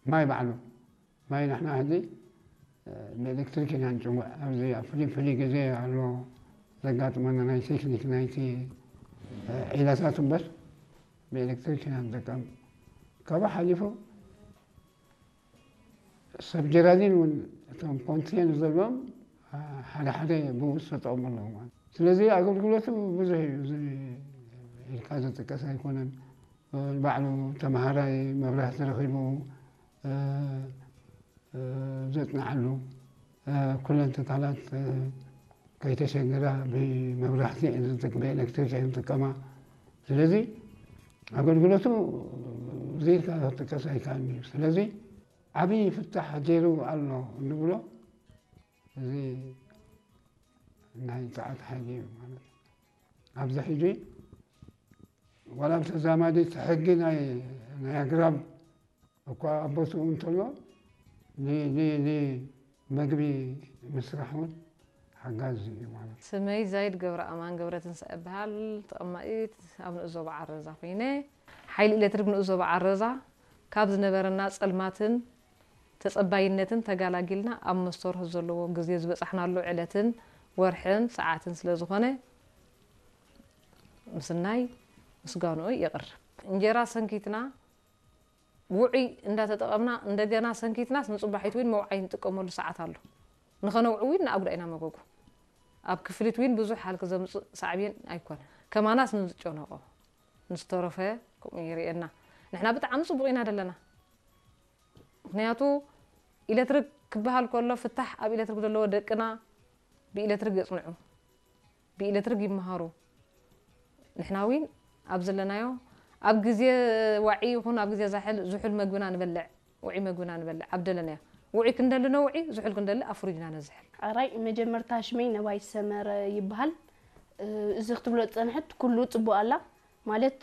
ማይ ባዕሉ፣ ማይ ንሕና ሕዚ ብኤሌክትሪክ ኢና ንጭውዕ። ኣብዚ ኣብ ፍሉይ ፍሉይ ግዜ ኣሎ ዘጋጥመና ናይ ቴክኒክ ናይቲ ዒላታት እምበር ብኤሌክትሪክ ኢና ንጥቀም። ካብኡ ሓሊፉ ሰብ ጀራዲን እውን እቶም ኮንቴነር ዘለዎም ሓደ ሓደ ብኡ ዝተጠቕሙ ኣለዉ ማለት። ስለዚ ኣገልግሎቱ ብዙሕ እዩ። እዚ ኢልካ ዝጥቀስ ኣይኮነን። ባዕሉ ተምሃራይ መብራህቲ ረኺቡ ዘጽንዓሉ፣ ኩለን ትካላት ከይተሸገራ ብመብራህቲ እየን ዝጥቀማ፣ ብኤሌክትሪክ እየን ዝጥቀማ። ስለዚ ኣገልግሎቱ ዘይካ ክጥቀስ ኣይከኣልን እዩ። ስለዚ ዓብዪ ፍታሕ ገይሩ ኣሎ እንብሎ እዚ ናይ ጸዓት ሓይሊ እዩ ማለት እዩ። ኣብዚ ሕጂ ዋላ ኣብ ተዛማዲ እቲ ሕጊ ናይ ናይ ኣግራብ እኳ ኣብ ቦትኡ እንተሎ ን- ን- ንመግቢ ምስራሕ እውን ሓጋዚ እዩ ማለት እዩ። ስመይ ዛይድ ገብረ ኣማን ገብረትንሳኤ እበሃል። ተቐማጢት ኣብ ንኡስ ዞባ ዓረዛ ኮይነ። ሓይሊ ኤሌክትሪክ ንኡስ ዞባ ዓረዛ ካብ ዝነበረና ጸልማትን ተጸባይነትን ተጋላጊልና ኣብ መስተ ወርሒ ዘለዎ ግዜ ዝበጻሕናሉ ዕለትን ወርሕን ሰዓትን ስለ ዝኾነ ምስናይ ምስጋንኡ የቕርብ። እንጀራ ሰንኪትና ውዑይ እንዳተጠቐምና እንደገና ሰንኪትናስ ንጽባሒት እውን መውዓይ ንጥቀመሉ ሰዓት ኣሎ። ንኸነውዕ እውን ንኣጉዳ ኢና መጎጎ። ኣብ ክፍሊት እውን ብዙሕ ሃልክ ዘምጽእ ሳዕቤን ኣይኮነ። ከማናስ ንዝጨነቖ ንዝተረፈ ከምኡ ይርእየና። ንሕና ብጣዕሚ ጽቡቕ ኢና ደለና። ምኽንያቱ ኤሌክትሪክ ክበሃል ከሎ ፍታሕ ኣብ ኤሌክትሪክ ዘለዎ ደቅና ብኤሌክትሪክ የጽንዑ፣ ብኤሌክትሪክ ይመሃሩ። ንሕና እውን ኣብ ዘለናዮ ኣብ ግዜ ዋዒ ይኹን ኣብ ግዜ ዛሕል ዝሑል መግብና ንበልዕ፣ ውዒ መግብና ንበልዕ ኣብ ደለናዮ። ውዒ ክንደሊ ነውዒ፣ ዝሑል ክንደሊ ኣብ ፍሪጅና ነዝሕል። ሕራይ መጀመርታ ሽመይ ነባይ ሰመረ ይበሃል። እዚ ክትብሎ ዝጸንሐት ኩሉ ጽቡቕ ኣላ። ማለት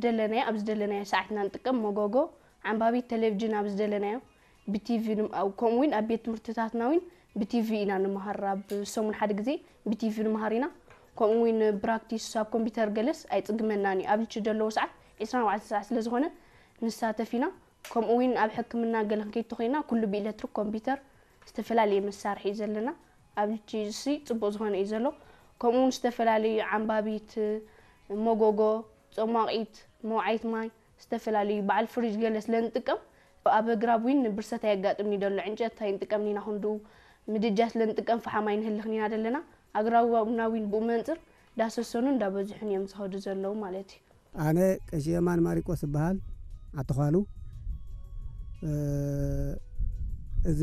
ደለናዮ ኣብ ዝደለናዮ ሰዓትና ንጥቀም መጎጎ ዓንባቢ ቴሌቪዥን ኣብ ዝደለናዮ ብቲቪ ከምኡ እውን ኣብ ቤት ትምህርትታትና እውን ብቲቪ ኢና ንምሃር። ኣብ ሰሙን ሓደ ግዜ ብቲቪ ንምሃር ኢና። ከምኡ እውን ብራክቲስ ኣብ ኮምፒውተር ገለስ ኣይፅግመናን እዩ። ኣብ ልቺ ዘለዎ ሰዓት ዕስራን ኣርባዕተን ሰዓት ስለ ዝኾነ ንሳተፍ ኢና። ከምኡ እውን ኣብ ሕክምና ገለ ክንከይድ ተኾይና ኩሉ ብኤሌክትሪክ ኮምፒውተር ዝተፈላለየ መሳርሒ እዩ ዘለና። ኣብ ልቺ እሲ ፅቡቕ ዝኾነ እዩ ዘሎ። ከምኡ እውን ዝተፈላለዩ ዓንባቢት፣ መጎጎ፣ ጾማቒት፣ መውዓይት ማይ፣ ዝተፈላለዩ በዓል ፍሪጅ ገለ ስለ ንጥቀም ኣብ ኣግራብ እውን ብርሰት ኣየጋጥምኒ ደሎ። ዕንጨት ኣይንጥቀምን ኢና ክንድኡ ምድጃ ስለ ንጥቀም ፈሓም ኣይንህልኽን ኢና ደለና። ኣግራብና እውን ብኡ መንፅር እንዳሰሰኑ እንዳበዝሑን እዮም ዝኸዱ ዘለዉ ማለት እዩ። ኣነ ቀሺ የማን ማሪቆስ እበሃል። ኣተዃሉ እዚ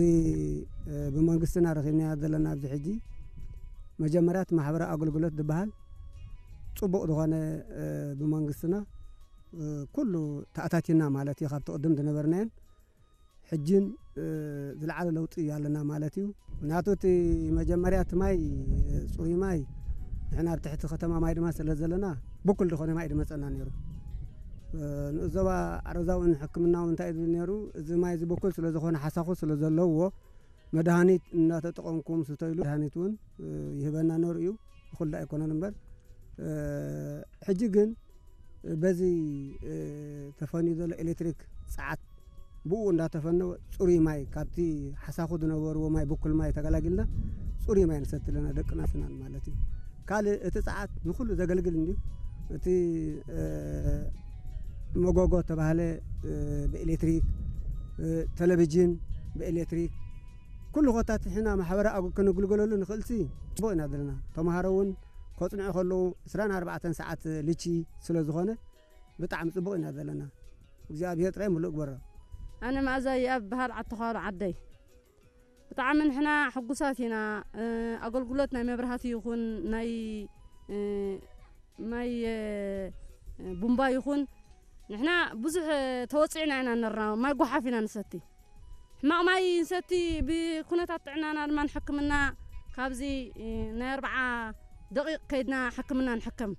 ብመንግስትና ረኺብናዮ ዘለና ኣብዚ ሕጂ መጀመርያ እቲ ማሕበራዊ ኣገልግሎት ዝበሃል ፅቡቕ ዝኾነ ብመንግስትና ኩሉ ተኣታቲና ማለት እዩ። ካብቲ ቅድም ዝነበርናየን ሕጅን ዝለዓለ ለውጢ ኣለና ማለት እዩ። ምክንያቱ እቲ መጀመርያ እቲ ማይ ፅሩይ ማይ ንሕና ኣብ ትሕቲ ከተማ ማይ ድማ ስለ ዘለና ብኩል ዝኾነ ማይ ድመፀና ነይሩ። ንእዞባ ኣረዛውን ሕክምናውን እንታይ ዝብል ነይሩ፣ እዚ ማይ እዚ ብኩል ስለ ዝኾነ ሓሳኹ ስለ ዘለዎ መድሃኒት እናተጠቐምኩም ስተይሉ መድሃኒት እውን ይህበና ነሩ እዩ። ብኩል ኣይኮነን እምበር ሕጂ ግን በዚ ተፈንዩ ዘሎ ኤሌክትሪክ ፀዓት ብኡ እንዳተፈነወ ፅሩይ ማይ ካብቲ ሓሳኹ ዝነበርዎ ማይ ብኩል ማይ ተገላጊልና ፅሩይ ማይ ንሰቲ ኣለና ደቅና ስናን ማለት እዩ። ካልእ እቲ ፀዓት ንኩሉ ዘገልግል እንድዩ። እቲ መጎጎ ተባህለ ብኤሌክትሪክ፣ ቴሌቪዥን ብኤሌክትሪክ ኩሉ ኮታት ሕና ማሕበራዊ ኣግ- ክንግልገለሉ ንኽእልሲ ፅቡቕ ኢና ዘለና። ተምሃሮ እውን ከፅንዑ ከለዉ ዕስራን ኣርባዕተን ሰዓት ልቺ ስለ ዝኾነ ብጣዕሚ ፅቡቕ ኢና ዘለና። እግዚኣብሔር ጥራይ ምሉእ ግበሮ። ኣነ መኣዛ ይኣብ በሃል ዓተዃሉ ዓደይ ብጣዕሚ ንሕና ሕጉሳት ኢና። ኣገልግሎት ናይ መብራህቲ ይኹን ናይ ማይ ቡምባ ይኹን ንሕና ብዙሕ ተወፂዕና ኢና ነርና። ማይ ጓሓፍ ኢና ንሰቲ ሕማቕ ማይ ንሰቲ ብኩነታት ጥዕናና ድማ ንሕክምና ካብዚ ናይ ኣርብዓ ደቂቕ ከይድና ሕክምና ንሕከም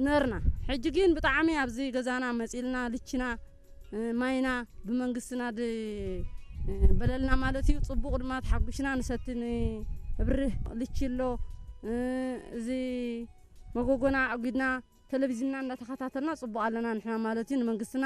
ነርና። ሕጂ ግን ብጣዕሚ ኣብዚ ገዛና መፂልና ልችና ማይና ብመንግስትና በለልና ማለት እዩ። ፅቡቕ ድማ ተሓጒስና ንሰቲ ንብርህ ልቺ ኣሎ። እዚ መጎጎና ኣጒድና ቴሌቪዝንና እንዳተኸታተልና ፅቡቕ ኣለና ንሕና ማለት እዩ። ንመንግስትና